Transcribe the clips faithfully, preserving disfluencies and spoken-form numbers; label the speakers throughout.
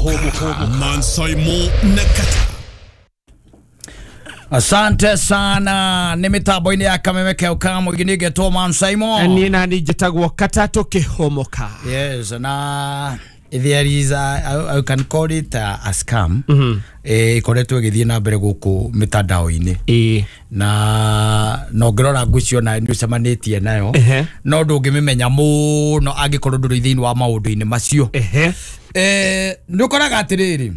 Speaker 1: Kĩhũmũka Mansaimo na Kata.
Speaker 2: Asante sana nĩ mĩtambo-inĩ ya Kameme Keuka mũingĩ nĩngetwo Mansaimo.
Speaker 3: Niĩ nani njĩtagwo Katatũ Kĩhũmũka.
Speaker 2: Yes, na there is a, I, I can call it a, a scam.
Speaker 3: Mm -hmm.
Speaker 2: Eh, ikoretwo ĩgĩthiĩ na mbere gũkũ mitandao-inĩ
Speaker 3: Ĩĩ.
Speaker 2: Na no ngĩrora ngwĩciria ona nĩ ũcemanĩtie nayo
Speaker 3: Ehe.
Speaker 2: no ndũngĩmĩmenya mũno angĩkorwo ndũrĩ thĩinĩ wa maũndũ-inĩ macio.
Speaker 3: Ehe.
Speaker 2: Eh, nĩ ũkoraga atĩrĩrĩ,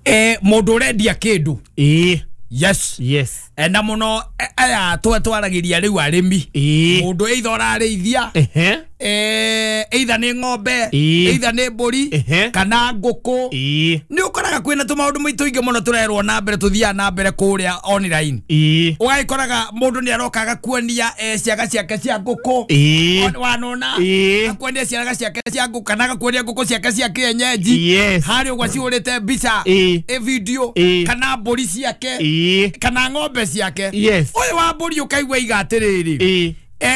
Speaker 2: eh, mũndũ ũrendia kĩndũ.
Speaker 3: Ĩĩ.
Speaker 2: Yes.
Speaker 3: Yes.
Speaker 2: Na mũno aya twatwaragĩria rĩu arĩmi.
Speaker 3: Ĩĩ.
Speaker 2: Mũndũ either ũrarĩithia,
Speaker 3: Ehe.
Speaker 2: eh, either nĩ ng'ombe,
Speaker 3: Ĩĩ.
Speaker 2: either nĩ mbũri,
Speaker 3: Ehe.
Speaker 2: kana ngũkũ.
Speaker 3: Ĩĩ.
Speaker 2: Nĩ ũkoraga kwĩna tũmaũndũ tũingĩ mũno tũrerwo na mbere tũthiaga na mbere kũrĩa online.
Speaker 3: Ĩĩ.
Speaker 2: Ũgagĩkoraga mũndũ nĩ aroka agakuonia eh, ciaga ciake cia ngũkũ.
Speaker 3: Ĩĩ.
Speaker 2: Wanona
Speaker 3: Ĩĩ.
Speaker 2: akuonia ciaga ciake cia ngũkũ kana agakuonia ngũkũ ciake cia kĩenyenji.
Speaker 3: Yes.
Speaker 2: Harĩa ũguo cihũrĩte mbica,
Speaker 3: Ĩĩ.
Speaker 2: ĩ video,
Speaker 3: Ĩĩ.
Speaker 2: kana mbũri ciake,
Speaker 3: Ĩĩ.
Speaker 2: kana ng'ombe ciake.
Speaker 3: Yes.
Speaker 2: Ũyũ wa mbũri ũkaigua iga atĩrĩrĩ,
Speaker 3: Ĩĩ.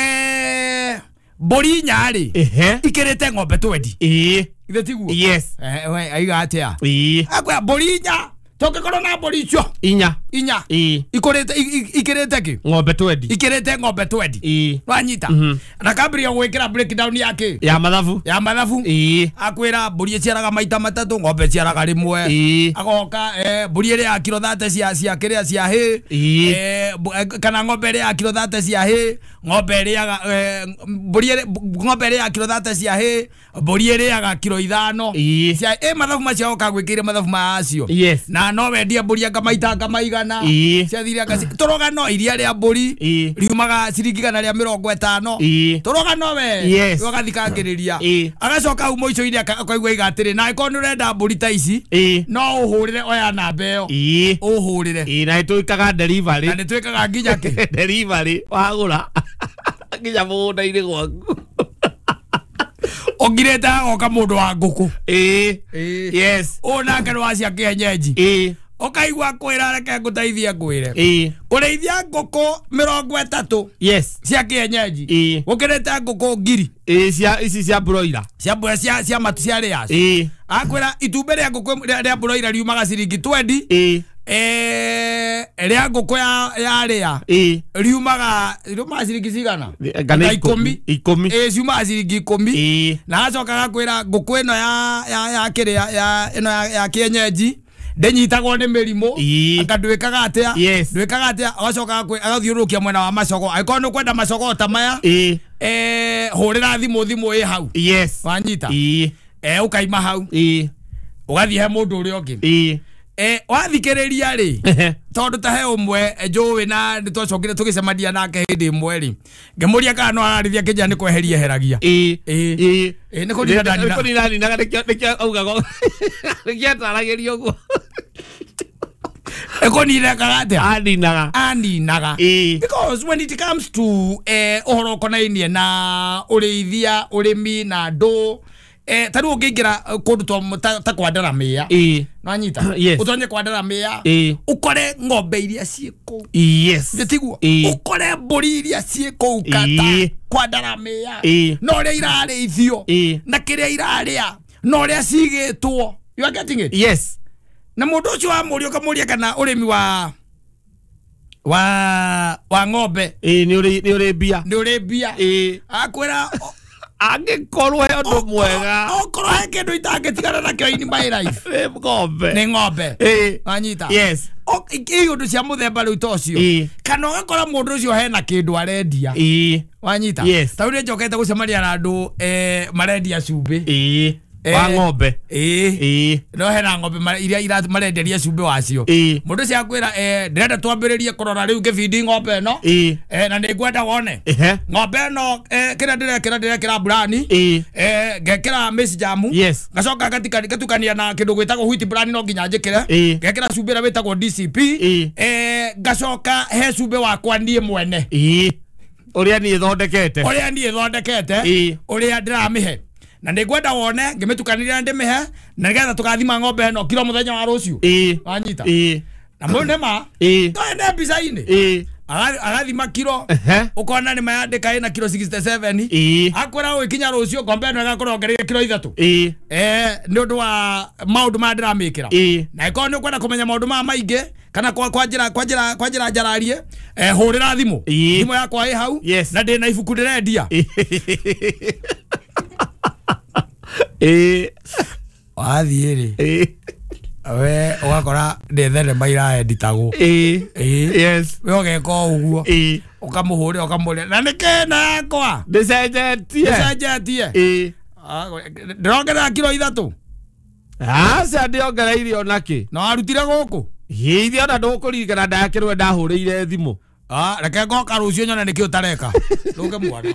Speaker 2: eh, mbũri inya rĩ
Speaker 3: Ehe.
Speaker 2: ikĩrĩte ng'ombe twendi.
Speaker 3: Ĩĩ.
Speaker 2: Ithe tiguo?
Speaker 3: Yes.
Speaker 2: Eh, we aiga atĩa?
Speaker 3: Ĩĩ.
Speaker 2: Akwĩra mbũri inya tũngĩkorwo na mbũri icio
Speaker 3: Inya.
Speaker 2: inya
Speaker 3: Ĩĩ.
Speaker 2: ikũrĩte ikĩrĩte kĩ?
Speaker 3: Ng'ombe twendi.
Speaker 2: Ikĩrĩte ng'ombe twendi.
Speaker 3: Ĩĩ.
Speaker 2: Wanyita?
Speaker 3: Mhm.
Speaker 2: Na kambĩrĩria gwĩkĩra breakdown ya kĩ?
Speaker 3: Ya mathabu.
Speaker 2: Ya mathabu.
Speaker 3: Ĩĩ.
Speaker 2: Akwĩra mbũri ĩciaraga maita matatũ, ng'ombe ĩciaraga rĩmwe.
Speaker 3: Ĩĩ.
Speaker 2: Agoka eh, mbũri ĩrĩa ya kiro thate cia cia kĩrĩa cia hĩ.
Speaker 3: Ĩĩ.
Speaker 2: Eh, kana ng'ombe ĩrĩa ya kiro thate cia hĩ, ng'ombe ĩrĩaga eh, mbũri ĩrĩa ng'ombe ĩrĩa ya kiro thate cia hĩ, mbũri ĩrĩaga kiro ithano.
Speaker 3: Ĩĩ.
Speaker 2: Cia ĩ mathabu macio oka gwĩkĩire mathabu macio.
Speaker 3: Yes.
Speaker 2: Na no wendie mbũri anga maita anga maigana.
Speaker 3: Ĩĩ.
Speaker 2: Ciathire anga tũrũgano iria rĩa mbũri
Speaker 3: Ĩĩ.
Speaker 2: riumaga ciringi igana rĩa mĩrongo ĩtano.
Speaker 3: Ĩĩ.
Speaker 2: Tũrũgano we.
Speaker 3: Yes.
Speaker 2: Ũgathikangĩrĩria.
Speaker 3: Ĩĩ.
Speaker 2: Agacoka hau mũico-inĩ akaigua iga atĩrĩ, na angĩkorwo nĩ ũrenda mbũri ta ici,
Speaker 3: Ĩĩ.
Speaker 2: no ũhũrĩre oya namba ĩyo.
Speaker 3: Ĩĩ.
Speaker 2: Ũhũrĩre.
Speaker 3: Ĩĩ, na nĩtwĩkaga delivery.
Speaker 2: Na nĩtwĩkaga nginya kĩ?
Speaker 3: Delivery wagũra nginya mũgũnda-inĩ gwaku.
Speaker 2: Ũngirĩte agoka mũndũ wa ngũkũ.
Speaker 3: Ĩĩ.
Speaker 2: Ĩĩ.
Speaker 3: Yes.
Speaker 2: Ũyũ nake nĩ wa cia kĩenyenji.
Speaker 3: Ĩĩ.
Speaker 2: Ũkaigua kwĩra reke ngũteithie ngwĩre.
Speaker 3: Ĩĩ.
Speaker 2: Kũrĩithia ngũkũ mĩrongo ĩtatũ
Speaker 3: Yes.
Speaker 2: cia kĩenyenji.
Speaker 3: Ĩĩ.
Speaker 2: Gũkĩrĩte ngũkũ ngiri.
Speaker 3: Ĩĩ, cia ici cia broiler.
Speaker 2: Cia broiler cia cia matu cia layers.
Speaker 3: Ĩĩ.
Speaker 2: Akwĩra itumbĩ rĩa ngũkũ rĩa broiler riumaga ciringi twendi.
Speaker 3: Ĩĩ.
Speaker 2: Eh, rĩa ngũkũ ya ya rĩa
Speaker 3: Ĩĩ.
Speaker 2: riumaga riumaga ciringi cigana?
Speaker 3: Kana
Speaker 2: ikũmi.
Speaker 3: Ikũmi.
Speaker 2: Ĩĩ, ciumaga ciringi ikũmi.
Speaker 3: Ĩĩ.
Speaker 2: Na acoka agakwĩra ngũkũ ĩno ya ya ya kĩrĩa ya ĩno ya, ya kĩenyenji ndĩnyitagwo nĩ mĩrimũ.
Speaker 3: Ĩĩ.
Speaker 2: Anga ndwĩkaga atĩa?
Speaker 3: Yes.
Speaker 2: Ndwĩkaga atĩa? Agacoka agathiũrũrũkia mwena wa macogo. Angĩkorwo nĩ ũkwenda macogo ta maya,
Speaker 3: Ĩĩ.
Speaker 2: eh, hũrĩra thimũ, thimũ ĩ hau.
Speaker 3: Yes.
Speaker 2: Wanyita?
Speaker 3: Ĩĩ.
Speaker 2: Eh, ũkaima hau.
Speaker 3: Ĩĩ.
Speaker 2: Ũgathiĩ he mũndũ ũrĩa ũngĩ.
Speaker 3: Ĩĩ.
Speaker 2: Eh, wathikĩrĩria rĩ, tondũ ta he ũmwe njũĩ na nĩ twacokire tũgĩcemania nake hĩndĩ ĩmwe rĩ, ngĩmũria kana no ararĩthia kĩnja nĩ kweheria eheragia.
Speaker 3: Ĩĩ.
Speaker 2: Ĩĩ.
Speaker 3: Ĩĩ.
Speaker 2: Ĩĩ, nĩ kũnina ndanina.
Speaker 3: Nĩ kũnina ninaga nĩkĩo nĩkĩo augaga. Nĩkĩo ataragĩria ũguo.
Speaker 2: Ĩkũnina ekaga atĩa?
Speaker 3: Aninaga.
Speaker 2: Aninaga.
Speaker 3: Ĩĩ.
Speaker 2: Because when it comes to eh, ũhoro ũkonainie na ũrĩithia, ũrĩmi na andũ, eh, ta rĩu ũngĩingĩra kũndũ ta, ta kwandaramĩa.
Speaker 3: Ĩĩ.
Speaker 2: Nwanyita?
Speaker 3: Yes.
Speaker 2: Ũtonye kwandaramĩa.
Speaker 3: Ĩĩ.
Speaker 2: Ũkore ng'ombe iria ciĩ kũu.
Speaker 3: Yes.
Speaker 2: Nĩ tiguo?
Speaker 3: Ĩĩ.
Speaker 2: Ũkore mbũri iria ciĩ kũu kata
Speaker 3: Ĩĩ.
Speaker 2: kwandaramĩa.
Speaker 3: Ĩĩ.
Speaker 2: Na ũrĩa irarĩithio.
Speaker 3: Ĩĩ.
Speaker 2: Na kĩrĩa irarĩa. Na ũrĩa cigĩtwo. You are getting it?
Speaker 3: Yes.
Speaker 2: Na mũndũ ũcio wamũria ũkamũria kana ũrĩmi wa wa wa ng'ombe
Speaker 3: Ĩĩ, nĩ ũrĩ nĩ ũrĩ mbia.
Speaker 2: nĩ ũrĩ mbia.
Speaker 3: Ĩĩ.
Speaker 2: Akwĩra
Speaker 3: angĩkorwo he ũndũ mwega,
Speaker 2: okorwo he kĩndũ itangĩtigana nakĩo in my life
Speaker 3: nĩ ng'ombe.
Speaker 2: nĩ ng'ombe.
Speaker 3: Ĩĩ.
Speaker 2: Wanyita?
Speaker 3: Yes.
Speaker 2: Ĩ ũndũ cia mũthemba rĩu ta ũcio.
Speaker 3: Ĩĩ.
Speaker 2: Kana ũgakora mũndũ ũcio hena kĩndũ arendia.
Speaker 3: Ĩĩ.
Speaker 2: Wanyita?
Speaker 3: Yes.
Speaker 2: Ta rĩu nĩ njokete gũcemania na andũ eh, marendia cumbĩ.
Speaker 3: Ĩĩ.
Speaker 2: Eh,
Speaker 3: Wa ng'ombe.
Speaker 2: Ĩĩ.
Speaker 3: Ĩĩ.
Speaker 2: No hena ng'ombe iria ira marenderia cumbĩ wacio.
Speaker 3: Ĩĩ.
Speaker 2: Mũndũ ũcio akwĩra eh, ndĩrenda twambĩrĩrie kũrora rĩu ngĩbindi ng'ombe ĩno.
Speaker 3: Ĩĩ.
Speaker 2: Eh, na nĩngwenda wone.
Speaker 3: Ehe.
Speaker 2: Ng'ombe ĩno eh, kĩrĩa ndĩrekĩra ndĩrekĩra burani.
Speaker 3: Ĩĩ.
Speaker 2: Eh, ngekĩra maize jam.
Speaker 3: Yes.
Speaker 2: Ngacoka ngatukania na kĩndũ gwĩtagwo wheat bran no nginya njĩkĩre.
Speaker 3: Ĩĩ.
Speaker 2: Ngekĩra cumbĩ ũrĩa wĩtagwo D C P.
Speaker 3: Ĩĩ.
Speaker 2: Eh, ngacoka he cumbĩ wakwa niĩ mwene.
Speaker 3: Ĩĩ. Ũrĩa niĩ thondekete.
Speaker 2: Ũrĩa niĩ thondekete.
Speaker 3: Ĩĩ.
Speaker 2: Ũrĩa ndĩramĩhe. Na nĩngwenda wone ngĩmĩtukanĩria na ndĩmĩhe na nĩgetha tũgathima ng'ombe ĩno kiro mũthenya wa rũciũ.
Speaker 3: Ĩĩ.
Speaker 2: Wanyita?
Speaker 3: Ĩĩ.
Speaker 2: Na mũndũ nĩ ma.
Speaker 3: Ĩĩ.
Speaker 2: No ene mbica-inĩ.
Speaker 3: Ĩĩ.
Speaker 2: Agathima kiro ukona ni mayandika ina kiro sixty-seven.
Speaker 3: Ĩĩ.
Speaker 2: Akwĩra ũgĩkinya rũciũ ng'ombe ĩno ĩgakorwo ongereire kiro ithatũ.
Speaker 3: Ĩĩ.
Speaker 2: Eh, nĩ ũndũ wa maũndũ maya ndĩramĩkĩra.
Speaker 3: Ĩĩ.
Speaker 2: Na ĩkorwo nĩ ũkwenda kũmenya maũndũ maya maingĩ kana kwa kwa njĩra kwa njĩra kwa njĩra njararie, eh, hũrĩra thimũ.
Speaker 3: Ĩĩ.
Speaker 2: Thimũ yakwa ĩ hau.
Speaker 3: Yes.
Speaker 2: Na ndĩ na ibuku ndĩrendia.
Speaker 3: Ĩĩ.
Speaker 2: Wathiĩ rĩ.
Speaker 3: Ĩĩ.
Speaker 2: We ũgakora nĩ thenema iraenditagwo.
Speaker 3: Ĩĩ.
Speaker 2: Ĩĩ.
Speaker 3: Yes.
Speaker 2: We ũgeka o ũguo.
Speaker 3: Ĩĩ.
Speaker 2: Ũkamũhũrĩra ũkamũrĩra na nĩkĩ ĩno yakwa
Speaker 3: Ndĩcenjetie.
Speaker 2: Ndĩcenjetie.
Speaker 3: Ĩĩ.
Speaker 2: Ndĩrongerera kiro ithatũ.
Speaker 3: Aca ndĩongereire onakĩ.
Speaker 2: Na warutire gũkũ?
Speaker 3: Hihi ona ndũkũririkana ndakĩrwe ndahũrĩire thimũ.
Speaker 2: Ah, reke ngoka rũciũ nyone nĩkĩ ũtareka. Ndũke mwana.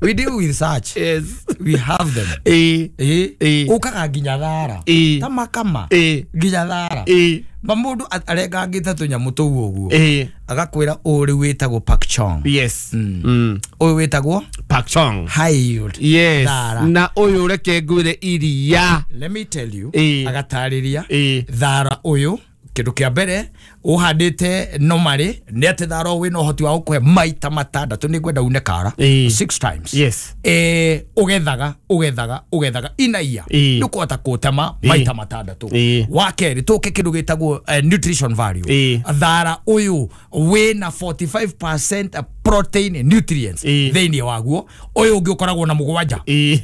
Speaker 2: We deal with such.
Speaker 3: Yes.
Speaker 2: We have them.
Speaker 3: Ĩĩ.
Speaker 2: Ĩĩ.
Speaker 3: Ĩĩ.
Speaker 2: Ũkaga nginya thara.
Speaker 3: Ĩĩ.
Speaker 2: Ta makama.
Speaker 3: Ĩĩ.
Speaker 2: Nginya thara.
Speaker 3: Ĩĩ.
Speaker 2: Ma mũndũ arengangĩte tũnyamũ tũu ũguo.
Speaker 3: Ĩĩ.
Speaker 2: Agakwĩra ũyũ rĩu wĩtagwo Pak Chong.
Speaker 3: Yes. Mm.
Speaker 2: Ũyũ wĩtagwo
Speaker 3: Pak Chong.
Speaker 2: High yield.
Speaker 3: Yes.
Speaker 2: Thara.
Speaker 3: Na ũyũ reke ngwĩre iria.
Speaker 2: Let me tell you.
Speaker 3: Ĩĩ.
Speaker 2: Agatarĩria.
Speaker 3: Ĩĩ.
Speaker 2: Thara ũyũ kĩndũ kĩa mbere ũhandĩte normally nĩ atĩ thara ũyũ wĩna ũhoti wa gũkũhe maita matandatũ nĩ ngwenda une kara.
Speaker 3: Ĩĩ.
Speaker 2: Six times.
Speaker 3: Yes.
Speaker 2: Eh, ũgethaga ũgethaga ũgethaga inaia
Speaker 3: Ĩĩ.
Speaker 2: nĩ ũkũhota kũtema
Speaker 3: Ĩĩ.
Speaker 2: maita matandatũ.
Speaker 3: Ĩĩ.
Speaker 2: Wa kerĩ tũke kĩndũ gĩtagwo eh, nutrition value.
Speaker 3: Ĩĩ.
Speaker 2: Thara ũyũ wĩna forty-five percent protein nutrients
Speaker 3: Ĩĩ.
Speaker 2: thĩinĩ waguo. Ũyũ ũngĩ ũkoragwo na mũgwanja.
Speaker 3: Ĩĩ.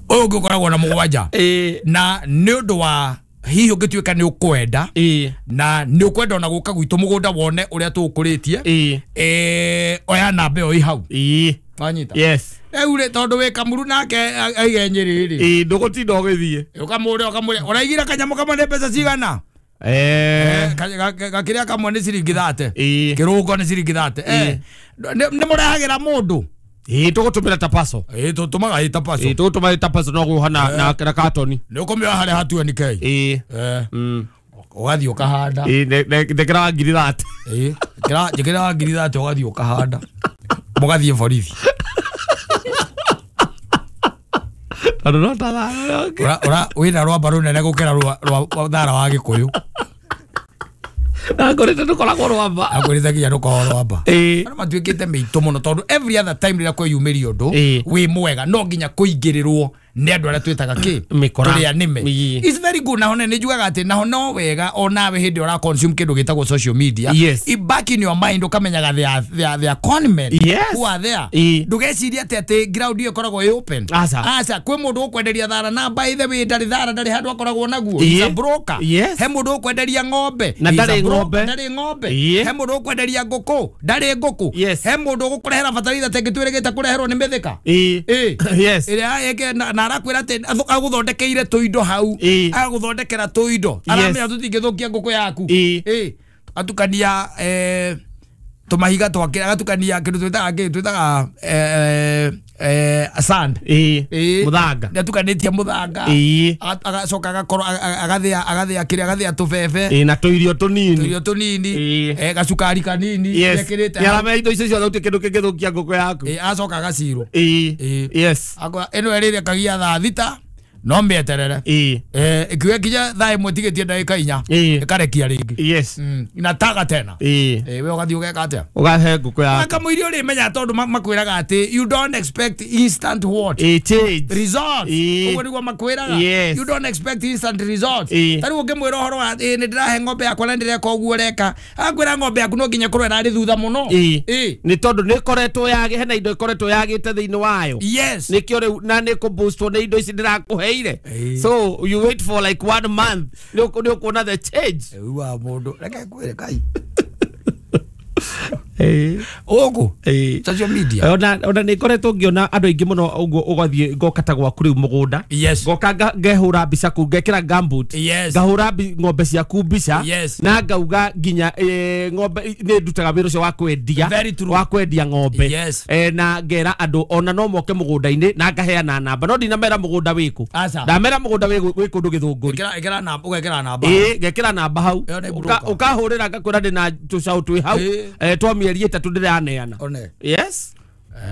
Speaker 2: Ũyũ ũngĩ ũkoragwo na mũgwanja.
Speaker 3: Ĩĩ.
Speaker 2: Na nĩ ũndũ wa hihi ũngĩtuĩka nĩ ũkwenda.
Speaker 3: Ĩĩ.
Speaker 2: Na nĩ ũkwenda ona gũka gwitũ mũgũnda wone ũrĩa tũũkũrĩtie.
Speaker 3: Ĩĩ.
Speaker 2: Eh, oya namba ĩyo ĩ hau.
Speaker 3: Ĩĩ.
Speaker 2: Wanyita?
Speaker 3: Yes.
Speaker 2: Rĩu rĩ tondũ wĩ Kamuru nake aige Nyĩrĩ rĩ.
Speaker 3: Ĩĩ, ndũgũtinda ũgĩthiĩ.
Speaker 2: Ũkamũrĩa ũkamũrĩa ũraigire kanyamũ kamwe nĩ mbeca cigana?
Speaker 3: Eh.
Speaker 2: Gakĩrĩa kamwe nĩ ciringi thate.
Speaker 3: Ĩĩ.
Speaker 2: Kĩrũngo nĩ ciringi thate. Eh. Nĩ mũrehagĩra mũndũ.
Speaker 3: Ĩĩ, tũgũtũmĩra ta parcel.
Speaker 2: Ĩĩ, tũtũmaga ĩ ta parcel.
Speaker 3: Ĩĩ, tũgũtũmĩra ta parcel no gũha na na na katoni.
Speaker 2: Nĩ ũkũmĩoya harĩa ha twenty K.
Speaker 3: Ĩĩ.
Speaker 2: Eh.
Speaker 3: Mm.
Speaker 2: Ũgathiĩ ũkahanda.
Speaker 3: Ĩĩ, ndekĩra ngiri thate.
Speaker 2: Ĩĩ, njĩkĩra njĩkĩra ngiri thate ũgathiĩ ũkahanda. Mũgathiĩ borithi.
Speaker 3: Tondũ no ta thara.
Speaker 2: Ura ura wĩna rwamba rũnene gũkĩra rwa rwa thara wa Gĩkũyũ.
Speaker 3: Na ngorĩte ndũkoragwo rwamba.
Speaker 2: Akwĩrĩte nginya ndũkoragwo rwamba.
Speaker 3: Ĩĩ.
Speaker 2: Andũ matuĩkĩte mĩitũ mũno tondũ every other time rĩrĩa kwĩyumĩria ũndũ
Speaker 3: Ĩĩ.
Speaker 2: wĩ mwega no nginya kũingĩrĩrwo nĩ andũ arĩa twĩtaga kĩ
Speaker 3: Mĩkora.
Speaker 2: tũrĩa nĩme.
Speaker 3: Ĩĩ.
Speaker 2: It's very good. Naho nĩ njugaga atĩ naho no wega onawe hĩndĩ ĩrĩa ũra consume kĩndũ gĩtagwo social media.
Speaker 3: Yes.
Speaker 2: I back in your mind ũkamenyaga they are, they are, they are con men
Speaker 3: Yes.
Speaker 2: who are there.
Speaker 3: Ĩĩ.
Speaker 2: Ndũgecirie atĩ atĩ ground ĩyo ĩkoragwo ĩ open.
Speaker 3: Aca.
Speaker 2: Aca, kwĩ mũndũ ũkwenderia thara na by the way ndarĩ thara ndarĩ handũ akoragwo naguo.
Speaker 3: Ĩĩ.
Speaker 2: He's a broker.
Speaker 3: Yes.
Speaker 2: He mũndũ ũkwenderia ng'ombe.
Speaker 3: Na
Speaker 2: He's a
Speaker 3: ndarĩ
Speaker 2: broker.
Speaker 3: ng'ombe.
Speaker 2: Ndarĩ ng'ombe.
Speaker 3: Ĩĩ.
Speaker 2: He mũndũ ũkwenderia ngũkũ. Ndarĩ ngũkũ.
Speaker 3: Yes.
Speaker 2: He mũndũ ũgũkũrehera bataraitha ta ĩngĩ twĩrĩgĩte kũreherwo nĩ mĩthĩka.
Speaker 3: Ĩĩ.
Speaker 2: Ĩĩ.
Speaker 3: Yes.
Speaker 2: Ĩrĩa ĩke na na arakwĩra atĩ agũthondekeire tũindo hau.
Speaker 3: Ĩĩ.
Speaker 2: Agũthondekera tũindo. Aramenya tũtingĩthũkia ngũkũ yaku.
Speaker 3: Ĩĩ.
Speaker 2: Ĩĩ. Atukania eh tũmahiga twake agatukania kĩndũ twĩtaga kĩ twĩtaga eh eh sand.
Speaker 3: Ĩĩ.
Speaker 2: Ĩĩ.
Speaker 3: Mũthanga.
Speaker 2: Nĩatukanĩtie mũthanga.
Speaker 3: Ĩĩ.
Speaker 2: Agacoka agakorwo agathĩa agathĩa kĩrĩa agathĩa tũbebe.
Speaker 3: Ĩĩ, na tũirio tũnini.
Speaker 2: Tũirio tũnini.
Speaker 3: Ĩĩ.
Speaker 2: Eh gacukari kanini.
Speaker 3: Yes.
Speaker 2: Ekĩrĩte
Speaker 3: Nĩ
Speaker 2: hau.
Speaker 3: aramenya indo icio ciothe gũtirĩ kĩndũ kĩngĩthũkia ngũkũ yaku.
Speaker 2: Ĩĩ, acoka agacirwo.
Speaker 3: Ĩĩ.
Speaker 2: Ĩĩ.
Speaker 3: Yes.
Speaker 2: Akwa ĩno ĩrĩrĩa kagia thaa thita no mĩeterere.
Speaker 3: Ĩĩ.
Speaker 2: Eh ikiuga kinya thaa ĩmwe tigĩtie ndagĩka inya.
Speaker 3: Ĩĩ.
Speaker 2: Ĩkarekia rĩngĩ.
Speaker 3: Yes.
Speaker 2: Mm. Inataga tena.
Speaker 3: Ĩĩ.
Speaker 2: Eh we ũgathiĩ ũgeka atĩa?
Speaker 3: Ũgahe ngũkũ yaku.
Speaker 2: Kamũiria ũrĩmenya tondũ makwĩraga atĩ you don't expect instant what?
Speaker 3: Ĩĩ, change.
Speaker 2: Results.
Speaker 3: Ĩĩ.
Speaker 2: Ũguo nĩguo makwĩraga.
Speaker 3: Yes.
Speaker 2: You don't expect instant results.
Speaker 3: Ĩĩ.
Speaker 2: Ta rĩu ũngĩmwĩra ũhoro wa ĩ nĩ ndĩrahe ng'ombe yakwa na ndĩreka ũguo ũreka. Akwĩra ng'ombe yaku no nginya ĩkorwo ĩrarĩ thutha mũno.
Speaker 3: Ĩĩ.
Speaker 2: Ĩĩ.
Speaker 3: Nĩ tondũ nĩ ĩkoretwo yagĩ hena indo ĩkoretwo yagĩte thĩinĩ wayo.
Speaker 2: Yes.
Speaker 3: Nĩkĩo rĩu na nĩ kũboostwo nĩ indo ici ndĩrakũheire.
Speaker 2: Ĩĩ.
Speaker 3: So you wait for like one month nĩ ũkuona the change.
Speaker 2: Rĩu wa mũndũ reke ngwĩre kai.
Speaker 3: Ĩĩ.
Speaker 2: Ũgũ.
Speaker 3: Ĩĩ.
Speaker 2: Social media.
Speaker 3: Ona ona nĩ ngoretwo ngĩona andũ aingĩ mũno ũguo ũgathiĩ ngoka ta gwaku rĩu mũgũnda.
Speaker 2: Yes.
Speaker 3: Ngoka ngehũra mbica kũu ngekĩra gumboot.
Speaker 2: Yes.
Speaker 3: Ngahũra ng'ombe ciaku mbica.
Speaker 2: Yes.
Speaker 3: Na ngauga nginya ng'ombe nĩ ndutaga wĩra ũcio wa kwendia.
Speaker 2: Very true.
Speaker 3: Wa kwendia ng'ombe.
Speaker 2: Yes.
Speaker 3: Na ngera andũ ona no moke mũgũnda-inĩ na ngaheana namba. No ndinamera mũgũnda wĩkũ. Ndamera mũgũnda wĩ wĩ kũndũ Gĩthũngũri.
Speaker 2: Ĩkĩra ĩkĩra namba ũgekĩra namba.
Speaker 3: Ĩĩ ngekĩra namba hau. Ũkahũrĩra ngakwĩra ndĩna tũcaũ twĩ hau. Twa mĩeri ĩtatũ ndĩraneana.
Speaker 2: One.
Speaker 3: Yes.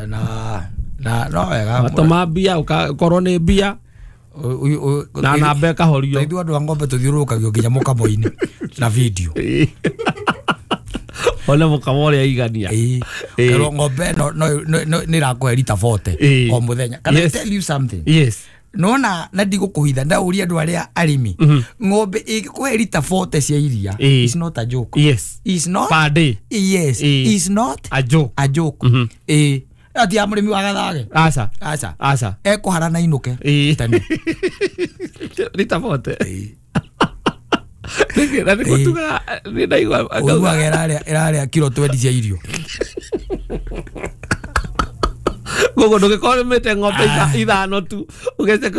Speaker 2: Na na no wega.
Speaker 3: Matoma mbia ũkorwo nĩ mbia. Na namba ĩkahorio.
Speaker 2: Ithuĩ andũ a ng'ombe tũthiũrũrũkagio nginya mũkamo-inĩ na video.
Speaker 3: One mũkamo ũrĩa igania.
Speaker 2: Kerwo ng'ombe no no nĩ ĩrakũhe rita forty o mũthenya. Can I tell you something?
Speaker 3: Yes.
Speaker 2: Nona na ndigũkũhitha ndauria andũ arĩa arĩmi ng'ombe ĩngĩkũhe rita forty cia iria is not a joke.
Speaker 3: Yes.
Speaker 2: Is not
Speaker 3: per day.
Speaker 2: Yes. Is not
Speaker 3: a joke.
Speaker 2: A joke. Eh. Ati ya mũrĩmi wa gathage.
Speaker 3: Aca.
Speaker 2: Aca.
Speaker 3: Aca.
Speaker 2: Ekũhara na inũke.
Speaker 3: Tene. Rita forty. Nĩkĩ na nĩkũtuga nĩ ndaigua.
Speaker 2: Ũiguaga ĩrarĩa ĩrarĩa kiro twenty cia irio.
Speaker 3: Koguo ndũgĩkorwo ũrĩmĩte ng'ombe ithano tu ũgece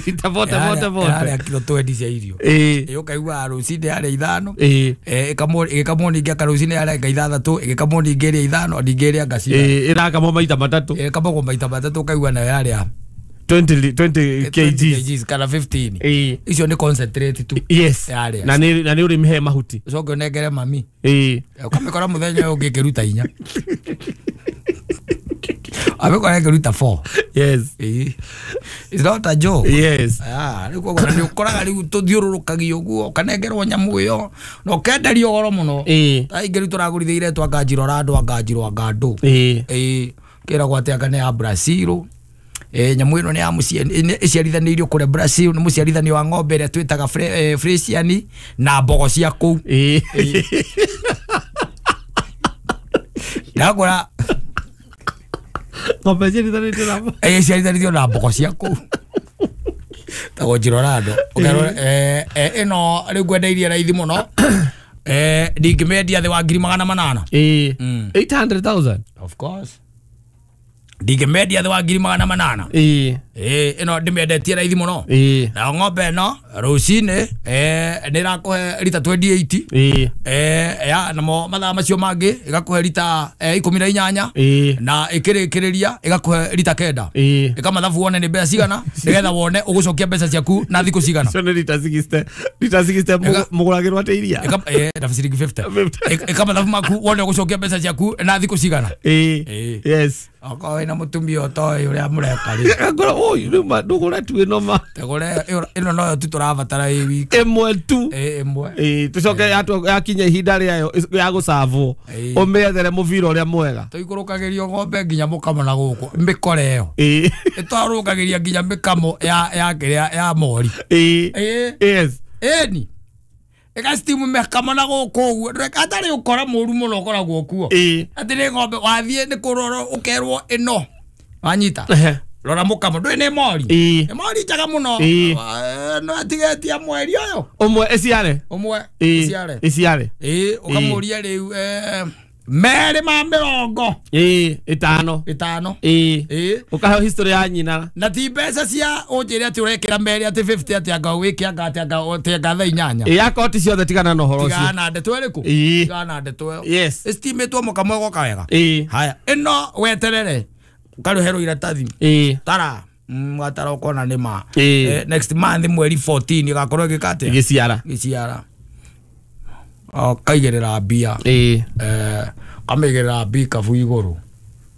Speaker 3: rita forty forty forty.
Speaker 2: Ĩrarĩa kiro twenty cia irio. Ĩ ũkaigua rũcinĩ yarĩa ithano. Ĩkamwo ĩgĩkamwo ningĩ aka rũcinĩ yarĩa anga ithathatũ ĩgĩkamwo ningĩ ĩrĩa ithano ningĩ ĩrĩa anga cigana.
Speaker 3: Ĩrakamwo maita matatũ.
Speaker 2: Ĩkamagwo maita matatũ ũkaigua nayo yarĩa
Speaker 3: twenty twenty kgs
Speaker 2: kana fifteen. Icio nĩ concentrate tu.
Speaker 3: Yes. Na nĩ na nĩ ũrĩmĩhe mahuti.
Speaker 2: Ũcoke ũnengere mami.
Speaker 3: Ĩ.
Speaker 2: Ũkamĩkora mũthenya ũyũ ũngĩ ĩkĩruta inya. Amekora ĩkĩruta four.
Speaker 3: Yes.
Speaker 2: It's not a joke.
Speaker 3: Yes.
Speaker 2: Ah, rĩu koguo nĩ ũkoraga rĩu tũthiũrũrũkagio ũguo ũkanengerwo nyamũ ĩyo na ũkenderio goro mũno. Ta ingĩ rĩu tũragũrithia iretwo anga njirora andũ anga njiro anga andũ. Ĩ. Kĩragwo atĩ anga nĩ ya Brazil. Eh nyamũ ĩno nĩ ya ĩciarithanĩirio kũrĩa Brazil nĩ mũciarithanio wa ng'ombe ĩrĩa twĩtaga Fresian na mbogo cia kũu. Ndakora
Speaker 3: ng'ombe ĩciarithanĩtio na mbogo.
Speaker 2: Ĩ ĩciarithanĩtio na mbogo cia kũu. Tagwo Njirorando. Ũkerwo eh ĩno rĩu ngwendeirie raithi mũno. Eh ndingĩmĩendia thĩ wa ngiri magana manana.
Speaker 3: Ĩ eight hundred thousand.
Speaker 2: Of course. Ndingĩmendia thĩ wa ngiri magana manana.
Speaker 3: Ĩ.
Speaker 2: Ĩ ĩno ndĩmĩendetie raithi mũno.
Speaker 3: Ĩ.
Speaker 2: Nayo ng'ombe ĩno rũcinĩ eh nĩ ĩrakũhe rita twenty eight.
Speaker 3: Ĩ.
Speaker 2: Eh ya namo mathaa macio mangĩ ĩgakũhe rita ikũmi na inyanya.
Speaker 3: Ĩ.
Speaker 2: Na ĩkĩrĩkĩrĩria ĩgakũhe rita kenda.
Speaker 3: Ĩ.
Speaker 2: Ĩka mathabu wone nĩ mbeca cigana nĩgetha wone ũgũcokia mbeca ciaku na thikũ cigana.
Speaker 3: Icio nĩ rita sixty. Rita sixty mũgũragĩrwo atĩ iria.
Speaker 2: Ĩka eh na ciringi fifty. Ĩka mathabu maku wone ũgũcokia mbeca ciaku na thikũ cigana.
Speaker 3: Ĩ. Yes.
Speaker 2: Okorwo wĩna mũtumia ũtoĩ ũrĩa mũreka rĩ.
Speaker 3: Ngorwo ũyũ rĩu ma ndũgũre tu ĩno ma.
Speaker 2: Tũgũre ĩno noyo tu tũrabatara ĩ wiki.
Speaker 3: Ĩmwe tu.
Speaker 2: Ĩ ĩmwe.
Speaker 3: Ĩ tũcoke yakinya ihinda rĩayo ya gũcavwo ũmĩethere mũbira ũrĩa mwega.
Speaker 2: Tũikũrũkagĩrio ng'ombe nginya mũkamo na gũkũ mĩkore ĩyo.
Speaker 3: Ĩ.
Speaker 2: Ĩtwarũkagĩria nginya mĩkamo ya ya kĩrĩa ya mori.
Speaker 3: Ĩ. Yes.
Speaker 2: Ĩni. Ĩgastimu mĩkamo na gũkũ ũguo atarĩ ũkora mũru mũno ũkoragwo kuo. Atĩ nĩ ng'ombe wathiĩ nĩ kũrorwo ũkerwo ĩno wanyita rora mũkamo ndũĩ nĩ mori. Nĩ mori njega mũno no atigetia mweri ũyũ
Speaker 3: ũmwe ĩciare
Speaker 2: ũmwe ĩciare
Speaker 3: ĩciare
Speaker 2: ĩ ũkamũria rĩu merĩ ma mĩrongo
Speaker 3: ĩ ĩtano
Speaker 2: ĩtano
Speaker 3: ĩ
Speaker 2: ĩ
Speaker 3: ũkaheo history ya nyina
Speaker 2: na ti mbeca cia ũnjĩre atĩ ũrekĩra merĩ atĩ fifty atĩ anga wĩke anga atĩ anga atĩ anga thaa inyanya.
Speaker 3: Ĩ akoti ciothe tigana na ũhoro ũcio.
Speaker 2: Tigana na ndeto ĩrĩkũ? Tigana na ndeto ĩyo.
Speaker 3: Yes.
Speaker 2: Ĩstimĩtwo mũkamo ĩgoka wega.
Speaker 3: Ĩ.
Speaker 2: Haya ĩno weterere ũkarĩherwo iratathi.
Speaker 3: Ĩ.
Speaker 2: Tara watara ũkona nĩ ma.
Speaker 3: Ĩ.
Speaker 2: Next month mweri fourteen ĩgakorwo ĩgĩka atĩa?
Speaker 3: Ĩgĩciara.
Speaker 2: Ĩgĩciara. Kaigĩrĩra mbia.
Speaker 3: Ĩ.
Speaker 2: Eh kamĩigĩrĩra mbikabu igũrũ.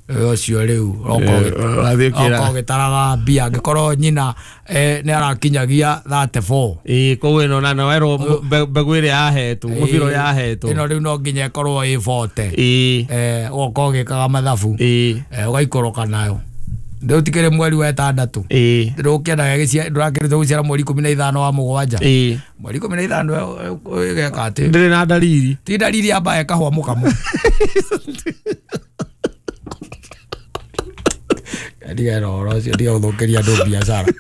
Speaker 2: Ũcio rĩu oka ũgĩtaraga mbia angĩkorwo nyina nĩ arakinyagia thirty four.
Speaker 3: Ĩ koguo ĩno na werwo mbegũ ĩrĩa yahetwo mũbira ũrĩa yahetwo.
Speaker 2: Ĩno rĩu no nginya ĩkorwo ĩ forty.
Speaker 3: Ĩ.
Speaker 2: Eh ũgoka ũgĩkaga mathabu.
Speaker 3: Ĩ.
Speaker 2: Ũgaikũrũka nayo. Rĩu tikĩrĩ mweri wa ĩtandatũ.
Speaker 3: Ĩ.
Speaker 2: Ndũkĩendaga ndũrakĩrĩte gũciara mweri ikũmi na ithano wa mũgwanja.
Speaker 3: Ĩ.
Speaker 2: Mweri ikũmi na ithano ĩgeka atĩ.
Speaker 3: Ndĩrĩ na ndariri.
Speaker 2: Ti ndariri yamba ĩkahũa mũkamo. Ndiga ũhoro ũcio ndiga gũthũkĩria andũ biacara.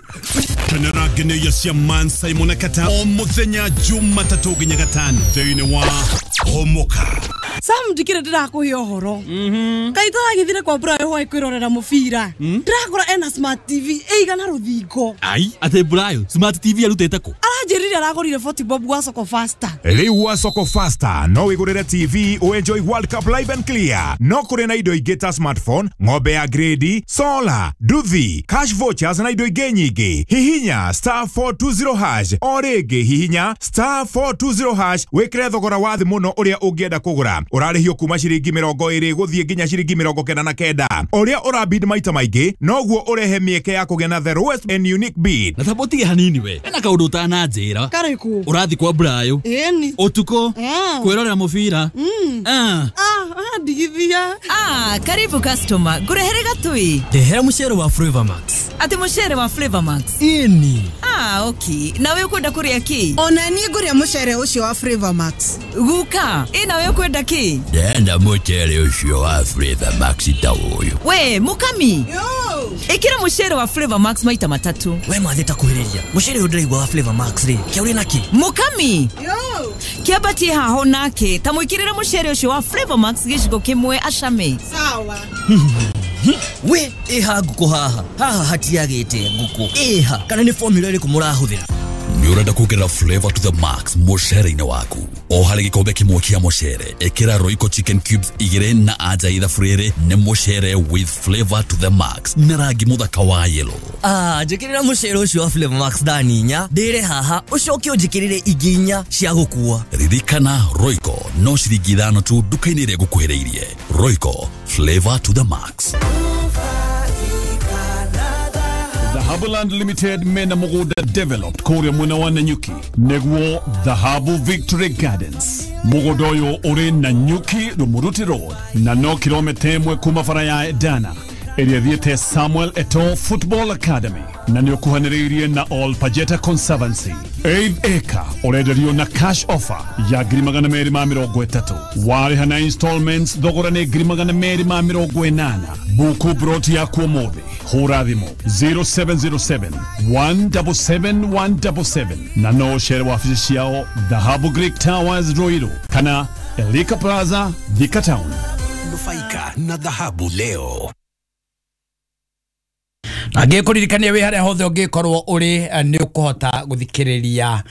Speaker 1: Kenera ngeneia cia Man Simon Kata o mũthenya Jumatatũ nginya gatano thĩinĩ wa Homoka.
Speaker 4: Sam ndikire ndirakuhe ũhoro. Kai tũragĩthire kwa Brayo hwaĩ kwĩrorera mũbira. Ndĩrakora ena smart T V ĩigana rũthingo.
Speaker 5: Ai, atĩ Brayo smart T V arutĩte kũ?
Speaker 4: Aranjĩrire aragũrire forty bob gwa Soko Faster.
Speaker 5: Rĩu gwa Soko Faster no wĩgũrĩre T V enjoy World Cup live and clear. No kũrĩ na indo ingĩ ta smartphone, ng'ombe ya grade, solar, nduthi, cash vouchers na indo ingĩ nyingĩ. Hihinya star four two zero hash o rĩngĩ hihinya star four two zero hash wĩkĩre thogora wa thĩ mũno ũrĩa ũngĩenda kũgũra. Ũrarĩhio kuma ciringi mĩrongo ĩrĩ gũthiĩ nginya ciringi mĩrongo kenda na kenda. Ũrĩa ũrabid maita maingĩ noguo ũrehe mĩeke ya kũgĩa na the lowest and unique bid.
Speaker 6: Na thabotige hanini we. Ena kaũndũ ũtananjĩra.
Speaker 4: Karĩkũ?
Speaker 6: Ũrathi kwa Brayo.
Speaker 4: Ĩni.
Speaker 6: Ũtukũ. Kwĩrorera mũbira.
Speaker 4: Ah. Ah, ndigithia.
Speaker 7: Ah, karibu customer. Ngũrehere gatui.
Speaker 8: Ndehera mũcere wa Flavor Max.
Speaker 7: Ati mũcere wa Flavor Max?
Speaker 8: Ĩni.
Speaker 7: Ah, okay. Nawe ũkwenda kũrĩa kĩ?
Speaker 9: Ona niĩ ngũrĩa mũcere ũcio wa Flavor Max.
Speaker 7: Guka, ĩ nawe ũkwenda kĩ?
Speaker 10: Ndenda mũcere ũcio wa Flavor Max ta ũyũ.
Speaker 7: We, mukami.
Speaker 9: Yo.
Speaker 7: Ĩkĩra mũcere wa Flavor Max maita matatu.
Speaker 8: We mwathĩ ta kuhĩrĩria. Mũcere ũyũ ndĩraigua wa Flavor Max rĩ, kĩa ũrĩ naki?
Speaker 7: Mukami.
Speaker 9: Yo.
Speaker 7: Kĩambatie haho nake, ta mwĩkĩrĩre mũcere ũcio wa Flavor Max gĩciko kĩmwe acame.
Speaker 9: Sawa.
Speaker 8: We, ĩha ngũkũ haha. Haha hatiagĩte ngũkũ. Ĩha, kana nĩ formula ĩrĩkũ mũrahũthĩra?
Speaker 10: Nĩ ũrenda kuongerera flavor to the max mũcere-inĩ waku. O harĩ gĩkombe kĩmwe kĩa mũcere, ĩkĩra Royco chicken cubes igĩrĩ na anja ithabu rĩrĩ nĩ mũcere with flavor to the max na rangi mũthaka wa yellow.
Speaker 8: Ah, njĩkĩrĩra mũcere ũcio wa Flavor Max thani inya, ndĩre haha, ũcoke ũnjĩkĩrĩre ingĩ inya cia gũkua.
Speaker 10: Ririkana Royco no ciringi ithano tu nduka-inĩ ĩrĩa ĩgũkuhĩrĩirie. Royco, flavor to the max.
Speaker 1: Dhahabuland Limited mena mũgũnda developed kũrĩa mwena wa Nanyuki nĩguo Dhahabu Victory Gardens. Mũgũnda ũyũ ũrĩ Nanyuki Rumuruti Road na no kilomita ĩmwe kuma bara ya Edana ĩrĩa ĩthiĩte Samuel Eto'o Football Academy na nĩ ũkuhanĩrĩirie na All Pajeta Conservancy. Eighth acre ũrenderio na cash offer ya ngiri magana merĩ ma mĩrongo ĩtatũ. Warĩha na installments thogora nĩ ngiri magana merĩ ma mĩrongo ĩnana. Buku broti yaku ũmũthĩ. Hũra thimũ zero seven zero seven one seven seven one seven seven na no ũcere wabici ciao Dhahabu Greek Towers Ruiru kana Elika Plaza Thika Town.
Speaker 11: Nufaika na Dhahabu leo.
Speaker 2: Angĩkũririkania wĩ harĩa hothe ũngĩkorwo ũrĩ nĩ ũkũhota gũthikĩrĩria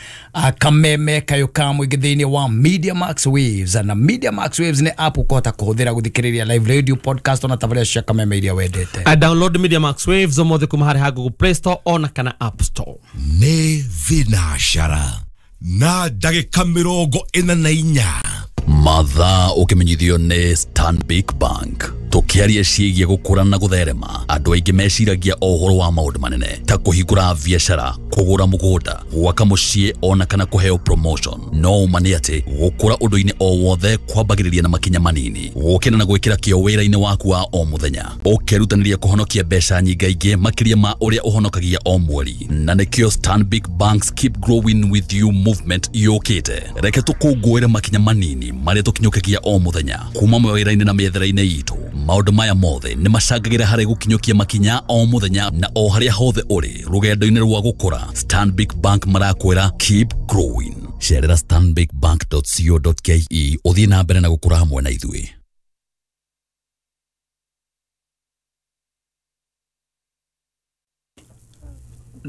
Speaker 2: kameme kayũ ka mũingĩ thĩinĩ wa Media Max Waves. Na Media Max Waves nĩ app ũkũhota kũhũthĩra gũthikĩrĩria live radio, podcast ona tabarĩra cia kameme iria wendete.
Speaker 3: I download Media Max Waves ũmũthĩ kuma harĩ ha Google Play Store ona kana App Store.
Speaker 11: Nĩ thinacara na ndagĩka mĩrongo ĩna na inya.
Speaker 10: Mathaa ũkĩmenyithio nĩ Stanbic Bank. Tũkĩaria ciĩgiĩ gũkũra na gũtherema, andũ aingĩ meciragia o ũhoro wa maũndũ manene ta kũhingũra biacara, kũgũra mũgũnda, gwaka mũciĩ ona kana kũheo promotion. No ũma nĩ atĩ gũkũra ũndũ-inĩ o wothe kwambagĩrĩria na makinya manini, gũkĩra na gwĩkĩra kĩo wĩra-inĩ waku wa o mũthenya, ũkerutanĩria kũhonokia mbeca nyingaingĩ makĩria ma ũrĩa ũhonokagia o mweri. Na nĩkĩo Stanbic Bank's Keep Growing With You movement yũkĩte. Reke tũkũngũĩre makinya manini marĩa tũkinyũkagia o mũthenya kuma mawĩra-inĩ na mĩethere-inĩ itũ. Maũndũ maya mothe nĩ macangagĩra harĩ gũkinyũkia makinya o mũthenya na o harĩa hothe ũrĩ rũgendo-inĩ rwa gũkũra. Stanbic Bank marakwĩra keep growing. Cerera stanbic bank dot co dot ke ũthiĩ na mbere na gũkũra hamwe na ithuĩ.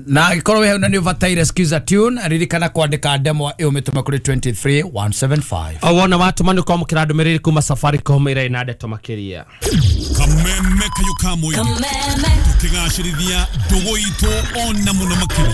Speaker 2: Na angĩkorwo wĩ hau na nĩ ũbataire skiza tune, ririkana kwandĩka ndemwa ĩyo mĩtũme kũrĩ two three one seven five.
Speaker 3: O wona watũma nĩ ũkwamũkĩra ndũmĩrĩri kuma Safaricom ĩrĩa ĩna ndeto makĩria.
Speaker 1: Kameme kayũ ka mũingĩ. Tũkĩgacĩrithia ndũgũ itũ ona mũno makĩria.